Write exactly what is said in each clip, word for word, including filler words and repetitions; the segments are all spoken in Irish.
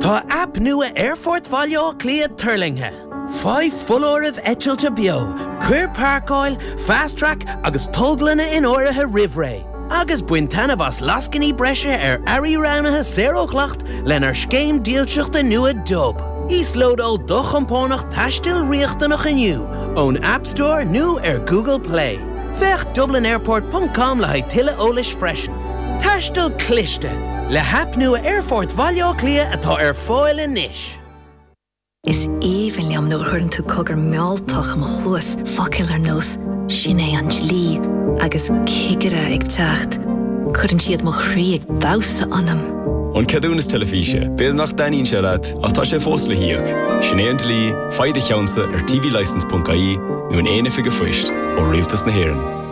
Tá aip nua Aerfort Bhaile Átha Cliath tuirlingthe. Faigh foláirimh eitilte beo, cuir páirceáil, fast track agus tolglanna in áirithe roimh ré. Agus bain taitneamh as lascainí breise ar earraí roghnaithe saor ó dhleacht lenár scéim dílseachta nua Dub. Íoslódáil do chompánach taistil riachtanach inniu ón App Store nó ar Google Play. Féach dublinairport.com le haghaidh tuilleadh eolais freisin. Taisteal cliste le haip nua Aerfort Bhaile Átha Cliath atá ar fáil anois. Is aoibhinn liom nuair a chuireann tú cogar mealltach i mo chluas focail ar nós sin é an dlí agus cigire ag teacht. Cuireann siad mo chroí ag damhsa ionam. An ceadúnas teilifíse, B'fhéidir nach dtaitníonn sé leat ach tá sé fós le híoc. Sin é an dlí, faigh do cheannsa ar tvlicence.ie nó in aon oifig phoist ó Rialtas na hÉireann.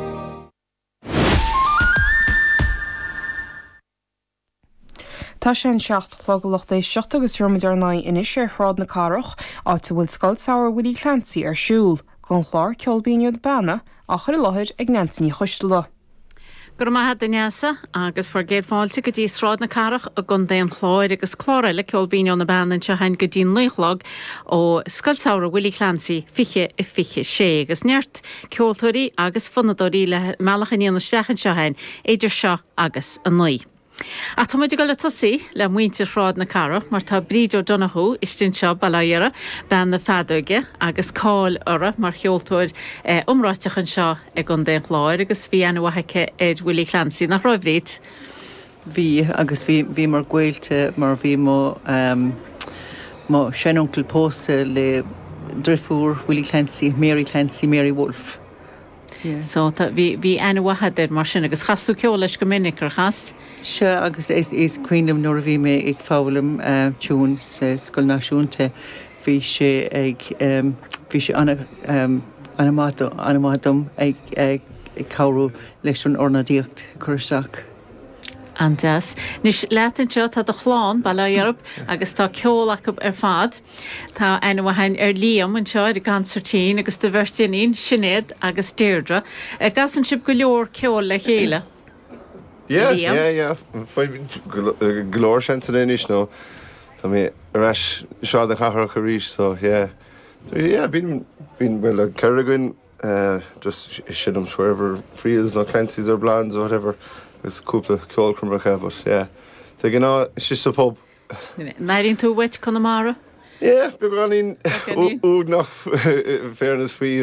Tá sé an seacht a chlog a lucht éisteachta agus muid ar aghaidh anois ar Shráid na Cathrach, áit a bhfuil Scoil Samhraidh Willie Clancy ar siúl, don chlár Ceol Binn ó na Beanna á chur i láthair ag Neansaí Ní Choisteala. Go raibh maith agat a Neasa agus bhur gcéad fáilte go dtí Sráid na Cathrach i gContae an Chláir agus clár eile Ceol Binn ó na Beanna anseo againn go dtí naoi a chlog ó Scoil Samhraidh Willie Clancy fiche a fiche sé agus neart ceoltóirí agus fonnadóirí le mealladh aniar isteach anseo againn idir seo agus a naoi. Ach tá muid ag dul ag tosaí le muintir Shráid na Cathrach mar tá Bríd O'Donoghue istigh anseo Baile Átha Dheara, bean na feadóige agus cáil uirthi mar cheoltóir eh, iomráiteach anseo i gContae an Chláir agus bhí aithne mhaith aici ar Willie Clancy nach raibh Bríd. Bhí agus bhí bhí mar gaolta mar bhí mo um, mo seanuncail pósta le deirfiúr Willie Clancy, Mary Clancy, Mary Wolf. Yeah. So bhí bhí aithne mhaith agat air mar sin agus chas tú ceol leis go minic ar chas. Se agus is is cuimhin liom nuair a bhí mé ag foghlaim uh, tiún sa Scoil Náisiúnta bhí sé ag um, bhí sé an um, an-mhaith dom ag ag ag cabhrú leis an ornáidíocht chur isteach. An-deas. Anois leat anseo tá do chlann Baile Átha Dhearb agus tá ceol acu ar fad. Tá aithne mhaith ar Liam anseo ar an gconsairtín agus do bheirt iníon Sinéad agus Deirdre. An gcasann sibh go leor ceol le chéile. Yeah, Liam? yeah, yeah. Go leor seansanna anois nó Tá mé ar ais Sráid na Cathrach arís so yeah. So, yeah, bíonn bíonn well ceithre againn uh, just seinnim wherever Friels nó Clancy's or Blondes or whatever agus cúpla ceolchoirmeacha but yeah. So gná si sa pub. N-airíonn tú uait Conamara? Yeah, beagáinín Beagáinín. uaigneach fairness faoi